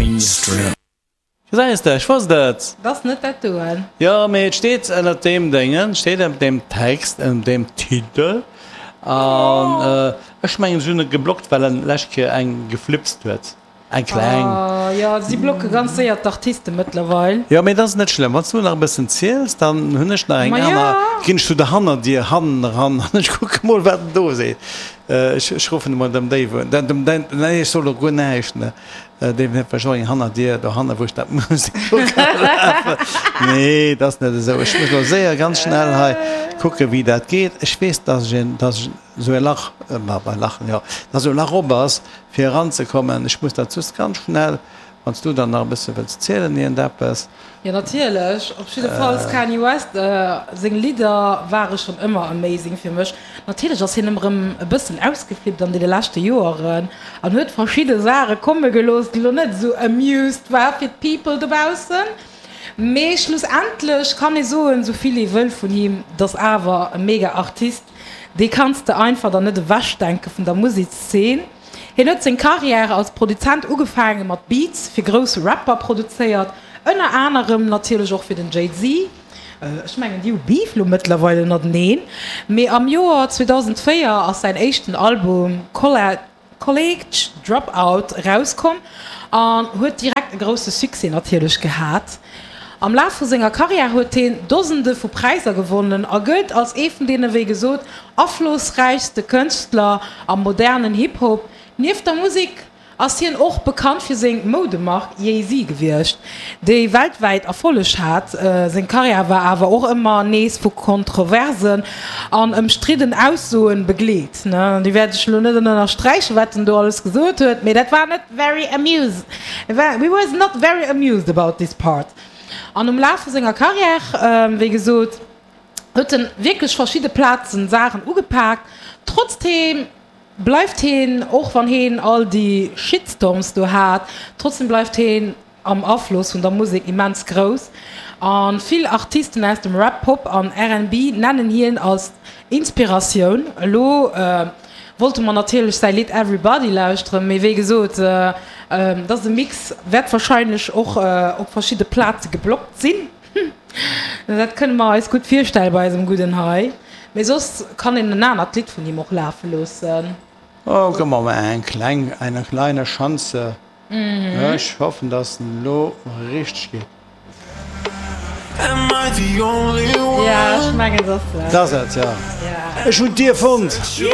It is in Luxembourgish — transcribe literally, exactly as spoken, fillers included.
Gesäis de, ech wosst et! Dat ass net dat doen. Jo, mee et steet ënnert deem Déngen, steet ënnert deem Text, ënnert deem Titel. An ech mengen, se hunn e geblockt, well en lescht Kéier eng geflipst huet. Eng kleng. Oh jo, si blocke ganz séier d'Artiste mëttlerweil. Jo, mee dat ass net schlëmm. Wann s du nach e bëssen ziels, dann hunn ech nach eng aner. Ginn ech zu der Hannerdier hannen eran an ech kucke mol, wat en do seet. Ech, ech ruffen emol dem Dave un. Den, dem, den, nee, ech soll elo guer näischt, ne? Deen huet vläicht och eng Hannerdier dohanne wou ech dat muss lafen. Nee, dat ass net esou. Ech muss elo séier ganz schnell hei kucke wéi dat geet. Ech weess, dass ech en, dass ech esou e Lach, ma bei Lachen, jo, dass esou e Lach op ass fir eranzekommen. Ech muss dat just ganz schnell, wann s du dann nach e bësse wëlls zielen iergendeppes. Jo natierlech, op jiddefalls Kanye West seng Lidder ware schonn ëmmer amazing fir mech. Natierlech ass hien ëmmer erëm e bëssen ausgeflippt an deene leschte Joeren an huet verschidde Saache komme gelooss déi lo net esou amused war fir d'People dobaussen. Mee schlussendlech kann ee soen esou vill ee wëll vun him, dass awer e mega Artist, dee kanns de einfach der net ewechdenke vun der Musekszeen. Hien huet seng Karriär als Produzent ugefaange mat Beats fir grouss Rapper produzéiert, ënner anerem natierlech och fir den Jay-Z. Ech mengen déi hu Beef lo mëttlerweil ënnerteneen. Mee am Joer zweedausendvéier ass säin éischten Album College Dropout erauskomm an huet direkt e grousse Succès natierlech gehat. Am Laf vu senger Karriär huet hien Dosende vu Präisser gewonnen a gëllt als ee vun deene wéi gesot aflossräichste Kënschtler am modernen Hip-Hop. Nieft der Musek ass hien och bekannt fir seng Moudemark Yeezy gewiescht, déi weltwäit Erfolleg hat. Seng Karriär war awer och ëmmer nees vu Kontroversen an ëmstridden Aussoen begleet. Déi wäert ech elo net ënnersträichen, wat en do alles gesot huet, mee dat war net very amused, he was not very amused about this part. An um Laf vu senger Karriär, wéi gesot, huet en wierklech verschidde Plazen Saachen ugepaakt. Trotzdeem bleift heen, och wann heen all déi Shitstorms do hat, trotzdem bleift heen am Afloss vun der Musek immens grouss. A vill Artisten aus dem Rap, Pop an R and B nennen hien als Inspiratioun. Elo wollte mer natierlech säi Lidd Everybody lauschteren, mee wéi gesot, dat ass e Mix, wäert warscheinlech och op verschidde Plaze geblockt sinn. Dat kënne mer eis gutt virstelle bei eisem Gudden hei. Mee soss kann een en anert Lidd vun him och lafe loossen. Oh, gëff mer mol eng kleng, eine kleine Chance. Ech hoffen, dass en elo richteg geet. Ja, ech mengen, dat ass Dat ass et, ja. Ech hunn d'Dier fonnt.